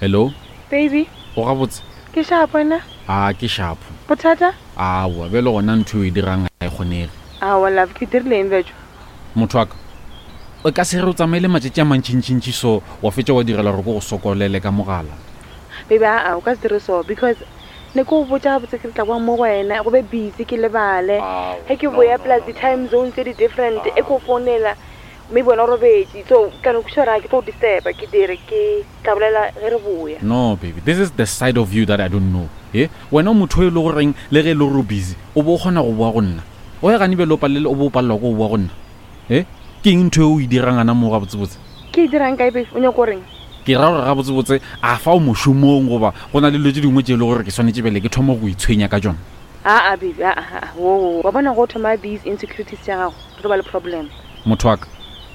Hello. Baby. O gabotse? Ke shapo wena? A ke shapo. Bothata? Aowa, bjale gona ntho e o e dirang ga e kgonege. Aowa love, ke dirile eng bjatšo? Motho wa ka, o ka se re o tsamaile matšatši a mantšintšintši so wa fetša wa direla gore ke go sokolele ka mogala. Baby, aa, o ka se dire so because ne ke go botša gabotse ke re tla boa mo go wena go be busy ke lebale. Ge ke boya plus di-time zone tse di different e ko founela maybe wena o robetše so ka no kwešiša gore ga ke tlo go disturba ke dire ke tla bolela ge re boya. No baby, this is the side of you that I don't know. He, wena o motho o e le goreng le ge e le gore o busy o bo o kgona go boa go nna. O ya gane bjale o palele o bo o palelwa ke go boa go nna. He, ke eng ntho e o e dirang gana moo gabotsebotse? Ke e dirang kae babe? O nyaka go reng? Ke ra gore gabotsebotse a fa o mošomong goba go na le dilo tše dingwe tše e le gore ke swanetše bjale ke thome go itshwenya ka tšona? Aa baby, aa, aa, wo, wo, wa bona go thoma these insecurities tša gago, re tlo ba le problem. Motho wa ka,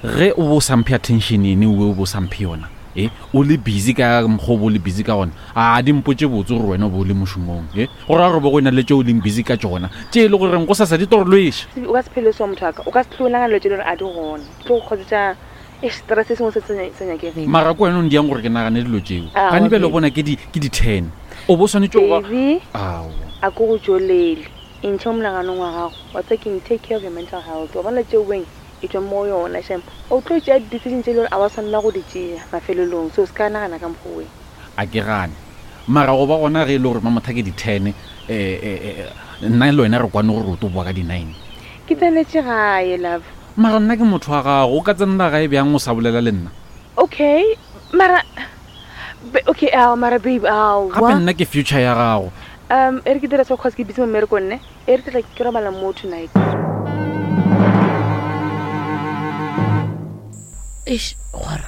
ge o bo o sa mphe attention ene owe o bo o sa mphe yona, e, o le busy ka mokgwa o bo o le busy ka gona, a di mpotše botse gore wena o bo o le mošomong, e, go ra gore bo go e na le tše o leng busy ka tšona, tše e le goreng gosasa di tlo re lweša. O ka se phele so motho wa ka, o ka se hlwe o nagana dilo tše e le gore a di gona, di tlo go causetša eish stress se sengwe se se sa nyakegeng. Mara ke wena o ndiang gore ke nagane dilo tšeo. Aowa, Gane bjale o baby. bona ke di, ke di ten. O bo o swanetše go ba. Baby, Aowa. a ke go tšolele. E ntšhe mo monaganong wa gago. Wa tseba keng, take care of your mental health. Wa bona tšeo weng, e tšwa mo go yona shem. O tlo tšea di-decision tše e le gore a wa swanela go di tšea mafelelong. So se ka nagana ka mokgwa weng. A ke gane. Mara go ba gona ge e le gore Mamotha ke di ten, eh, eh, eh, nna le wena re kwane gore o tlo boa ka di nine. Ke tsenetše gae, love. Mara nna ke motho wa gago, o ka tsenela gae bjang o sa bolela le nna? Okay, mara okay, ao mara babe, ao. Gape nna ke future ya gago. Um, e re ke dira so cause ke busy mo mmerekong ne. E re ke tla ke robala mo tonight. Eish, gwara.